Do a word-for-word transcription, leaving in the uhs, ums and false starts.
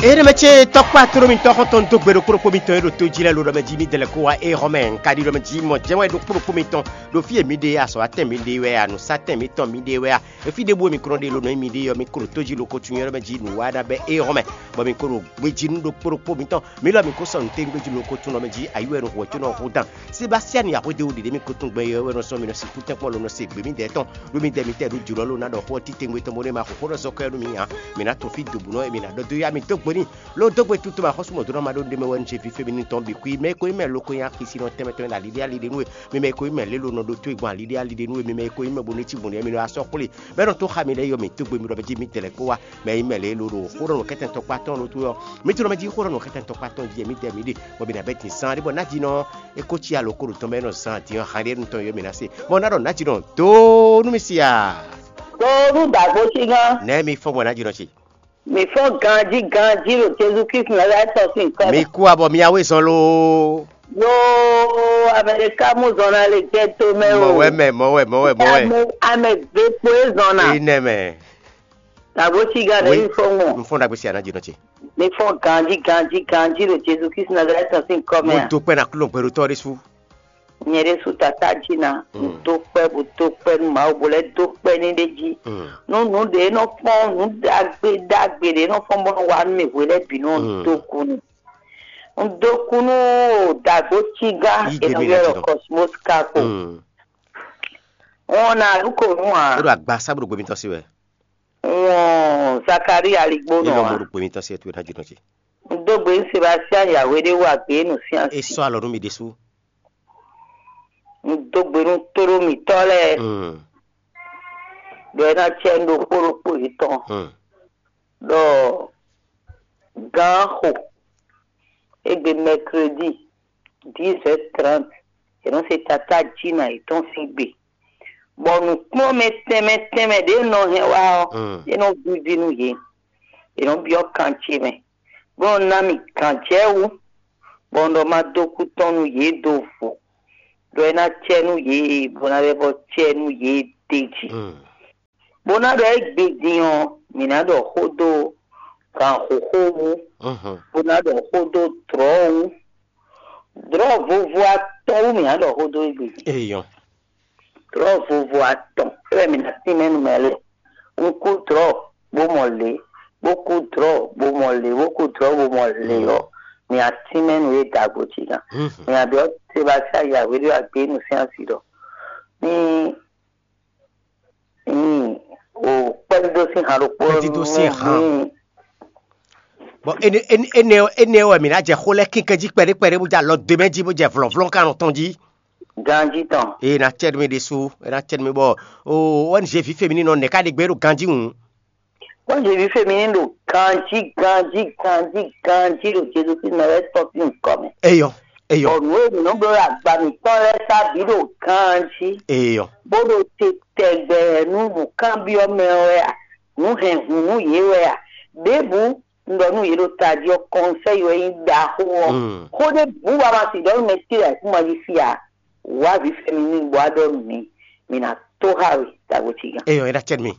Éɖé mɛ ce tɔkpá tló mitɔn xɔntɔn dó gbe ɖokpó ɖokpó mitɔn e ɖo to jí lɛ́ɛ lo ɖɔ mɛ jí mi dɛlɛ kó wá é xɔ mɛ un ka ɖi ɖɔ mɛ jí mɔ jɛ́n wɛ ɖokpó ɖokpó mitɔn ɖo fí e mi ɖe azɔ̌ atɛn mi ɖe wɛ anǔsatɛn mitɔn mi ɖe wɛ a, efi ɖěbǔ e mi kɔn ɖe lo nɔ nyi mi ɖe ɔ́ mi klo tó jí lo ko tun nyɔ́ ɖɔ mɛ jí nǔ wa ná bɛ é xɔ mɛ, bɔ mi ko ɖo gbejí nú ɖokpó ɖokpó mitɔn mi lɔ mi ko sɔ́ nǔ tégbé jí lo ko tun ɖɔ mɛ jí ayi wɛ ɖo hwɛ̌ có nɔ hu dan. Sebasiani axwédéwú ɖiɖe mi ko tun gbɛ yɔ́ wɛ nɔ sɔ́ mi nɔ sixú tɛ́nkpɔ́n lo nɔ se gbě mi dɛɛ tɔn ɖó mi dɛ mi tɛ ɖó jǒlɔ ló ná ɖɔ xó ɔ́ titewungbe tɔn bó nɔ́ ma xo xó ɖɔ zɔ́ kɔ ɛ nú mi ǎ. Mi ná tɔn fí dobǔnɔ e mi ná ɖɔ dó yá mi dó gbe n'i. Ló dó gbe tutu ma xɔ́sú mɔ̌ dó ná ma ɖó ɖé mɛ wɛ nú ce fífé mi ní tɔn bǐ xwí mɛ e ko nyí mɛ lo ko nyí axisínɔ tɛnmɛ tɔn e ɖo aliɖí aliɖí nú we, mi mɛ e ko nyí mɛ lélo nɔ ɖó tó e gbɔn aliɖí aliɖí nú we, mi mɛ e ko nyí mɛ bo ní cí gbɔn nǔ mi nɔ asɔ́ xwlé. Mɛ nɔ tó xa mi lɛ́ɛ yɔ mi dó gbe mi ɖɔ mɛ jí mi dɛlɛ kpó wá. Mɛ e nyí mɛ lélo ɖo xó ɖɔ nɔ kɛtɛn tɔkpá tɔn ɖó tó ɔ́, mi tlɔ mɛ jí xó ɖɔ nɔ kɛtɛn tɔkpá tɔn jí mi dɛ mi ɖe, bɔ mi ná bɛ din sán ɖé bɔ ná jí nɔ é ko cí alo ko ɖo tɔn mɛ nɔ zan din ɔ́ han ɖé nu tɔn yɔ mi ná se. Bɔ ná ɖɔ ná jí nɔ dó nú mi si a. Donu dagbo ci gán. Nɛ̌ mi fɔ́n gbɔn ná jí nɔ ce? Mi fɔ́n ganjí ganjí ɖo Jezu Kristu Nazalɛ́ti tɔn sín kɔ. Mi kú abɔ mi awe zɔn loo. Yo, Amɛlika mú zɔn ná lè jẹ́ tó mɛ o. Mɔwɛ mɛ, mɔwɛ, mɔwɛ, mɔwɛ. Ame ame ve kpo é zɔn ná. Enɛ mɛ. Dagbo ci gán ɖe mi fɔ́n gbɔn. N fɔ́n ɖagbe si aná jí nɔ ce. Mi fɔ́n ganjí ganjí ganjí ɖo Jezu Kristu Nazalɛ́ti tɔn sín kɔ mɛ. Mo do kpɛ na kúlɔ gbɛɖotɔ ɖé sú. Nyɛ ɖésú tatá jí ná, un dó kpɛ́ bó dó kpɛ́ nú Mawu bó lɛ́ dó kpɛ́ ní ɖé jí. Nú nǔ ɖě nɔ kpɔ́n nǔ ɖagbe ɖagbe ɖě nɔ fɔ́n bó nɔ wa nú mì hwe lɛ́ɛ bǐ nɔ un dó kú n'i. Un dó kú nú dǎgbó cígá è nɔ ylɔ́ ɖɔ Cosmos Kako. Wɔn ná lú ko nú ǎ. É ɖo agba sábúɖo gbé mitɔn sí wɛ. Wɔn Zakaria aligbó nɔ ǎ. Ní lɔ mo ɖo gbé mitɔn sí wɛ towe ná jínɔ ce. Un dó gbe nú Sebastien Yahweh ɖé wú agbě nǔ sín asi. É sɔ́ alɔ nú mi ɖésú. Un dó gbe nú tóɖó mǐtɔn lɛ́ɛ ɖɔ é ná cɛ nú ɖokpó ɖokpó yětɔn ɖɔ gǎn xo égbé mɛkredi dix heures trente è nɔ se tatá jǐnà yětɔn sín gbe, bɔ nǔkplɔ́nmɛ tɛnmɛ tɛnmɛ ɖě nɔ hɛn wá ɔ́, é nɔ víví nú yě. È nɔ byɔ́ kan ce mɛ, bó nɔ ná mì gǎnjɛwú, bɔ un ɖɔ ma dó kú tɔn nú yě dó vo, ɖɔ é ná cɛ nú yě, bó ná lɛ́ vɔ cɛ nú yě d'é jí. Bó ná ɖɔ égbé din ɔ́, mǐ ná ɖɔ xó dó gǎnxóxó wú, bó ná ɖɔ xó dó dlɔ̌ wú. Dlɔ̌ vovo atɔn wú mǐ ná ɖɔ xó dó égbé din. Eyɔn. Dlɔ̌ vovo atɔn é wɛ mǐ ná tínmɛ nú mɛ lɛ́ɛ. Un kú dlɔ̌ bó mɔ lě, bó kú dlɔ̌ bó mɔ lě, bó kú dlɔ̌ bó mɔ lě ɔ́, mǐ ná tínmɛ nú yě dǎgbó cí gán. Mǐ ná ɖɔ Sebastien Yahweh ɖo agbě nú sín asi ɖɔ ní ní o kpɛ́dídó sín han ɖokpó. Kpɛ́dídó sín han. Bɔ énɛ́ énɛ́ wɛ mǐ ná jɛ xó lɛ́ɛ kínkɛ́n jí kpɛɖé kpɛɖé bó jɛ alɔ dó mɛ jí bó jɛ vlɔ̌vlɔ́ kan nɔ tɔn jí. Ganjí tɔn. Eye ná cɛ nú mì ɖésú, é ná cɛ nú mì bɔ o O N G vǐ féminí nɔ nɛ̌ ká ɖe gbé ɖo ganjí hǔn? O N G vǐ féminí ɖo ganjí ganjí ganjí ganjí ɖo Jezu Kristu mɛ wɛ tɔ́n sín nyǐkɔ mɛ. Eyɔ, eyɔ. Bɔ nǔ e mǐ nɔ bló ɖo agba mǐtɔn lɛ́ɛ sá bǐ ɖo ganjí. Eyɔ. Bó ɖo te tɛgbɛ nú nǔkanbyɔ́ mɛ wɛ a, nǔ hɛn hǔn nú yě wɛ a, ɖěbǔ un ɖɔ nú yě ɖo tají ɔ́, kɔnsɛ́yi wɛ nyí ɖaxó ɔ́. Xó ɖěbǔ wá ma si ɖɔ nú mɛ ce lɛ́ɛ kún ma yí fí ǎ. Wǎ vǐ fɛ́nú n'i bɔ wá ɖɔ nú mǐ, mǐ ná tó xá we, dǎgbó cí gán. Eyɔ, é ná cɛ nú mì.